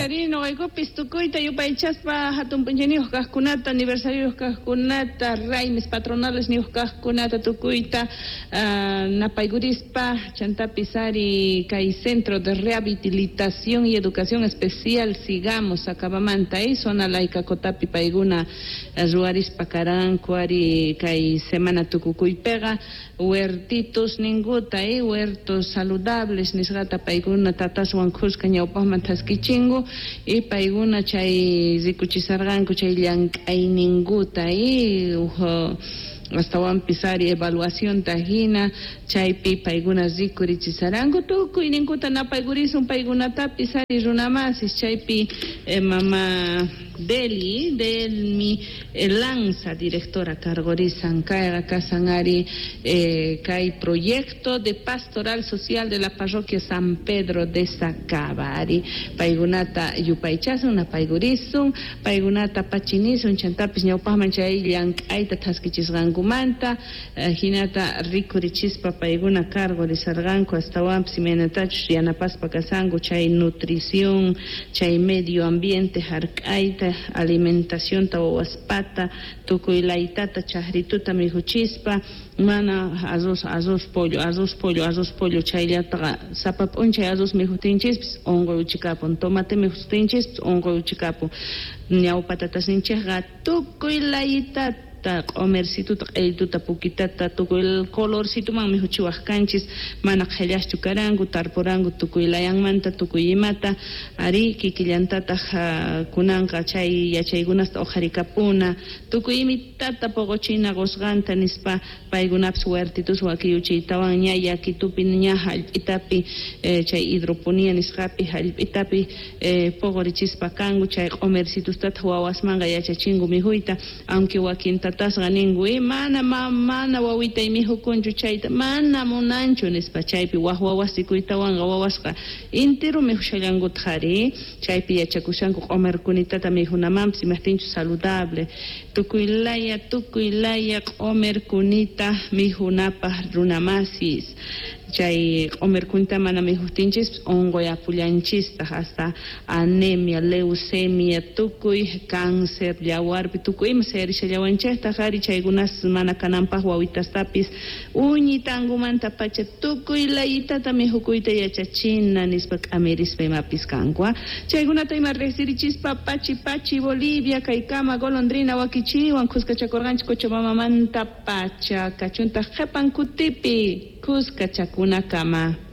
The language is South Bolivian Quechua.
Arí, noqaykupis tukuyta yupaychaspa hatun p'unchayniyuq kaqkunata, aniversarioyuq kaqkunata, raymis patronales niyuq kaqkunata tukuyta napaykurispa, chantapis ari kay Centro de Rehabilitación y Educación Especial Sigamos Sacabamanta, zona Laycacotapi paykuna ruwarispa karanku ari kay semana tukukuypiqa huertitos ninkuta, huertos saludables nisqata paykuna tataswan khuska ñawpaqman thaskichinku y paykuna chay rikuchisarqanku chay llank'ayninkuta astawanpis ari evaluacionta hina chaypi paykuna rikurichisaranku tukuyninkuta napaykurisun paykunatapis ari runamasis chaypi mama Deli, Delmi Lanza, directora cargorisan kayqa kasan ari kay proyecto de pastoral social de la parroquia San Pedro de Sacaba ari paykunata yupaychasun napaykurisun paykunata pachinisun chantapis ñawpaqman chay llank'ayta thaskichisqankumanta hinata rikurichispa paykuna cargorizarqanku astawanpis imaynatachus yanapaspa kasanku chay nutrición chay medio ambiente hark'ayta alimentacionta wawaspata tukuy laytata chajrituta mikhuchispa mana arroz arroz pollo arroz pollo arroz pollo chayllataqa sapa p'unchay arroz mikhutinchispis unquy uchikapun tomate mikhutinchispis unquy uchikapun ñawpa tatasninchikqa tukuy laytata q'omercituta q'ellituta pukitata tukuy colorcituman mikhuchiwaq kanchis mana qhellaschu karanku tarpuranku tukuy layanmanta tukuy imata ari kikillantataq kunanqa chay yachaykunasta uqharikapuna tukuy imitata poqochina qusqanta nispa paykunapis huertitus wakiyuchiytawan ña yakitupi ña hallp'itapi chay hidroponía nisqapi hallp'itapi poqorichispa kanku chay q'omercitustataq wawasmanqa yachachinku mikhuyta aunque wakin tatasqa ninku mana mana wawitay mikhukunchu chayta mana munanchu nispa chaypi waj wawas rikuytawanqa wawasqa intiru mikhushallankutaq ari chaypi yachakushanku q'omerkunitata mikhunamanpis imajtinchus saludable tukuy laya q'omerkunita mikhunapaq runamasis chay q'omerkunita mana mikhutinchispis unquy apullanchistaq hasta anemia, leucemia, tukuy cáncer yawarpi tukuy ima sayarishallawanchiktaq ari chaykunas mana kananpaq wawitastapis uñitankumanta pacha tukuy layitata mikhukuyta yachachina nispa k'amirispa imapis kanku chaykunata ima riqsirichispa pachi pachi Bolivia kaykama golondrina wakichiwan khuskachakurqanchik Cochabambamanta pacha kachuntaq qhipan kutipi khuskachakunakama.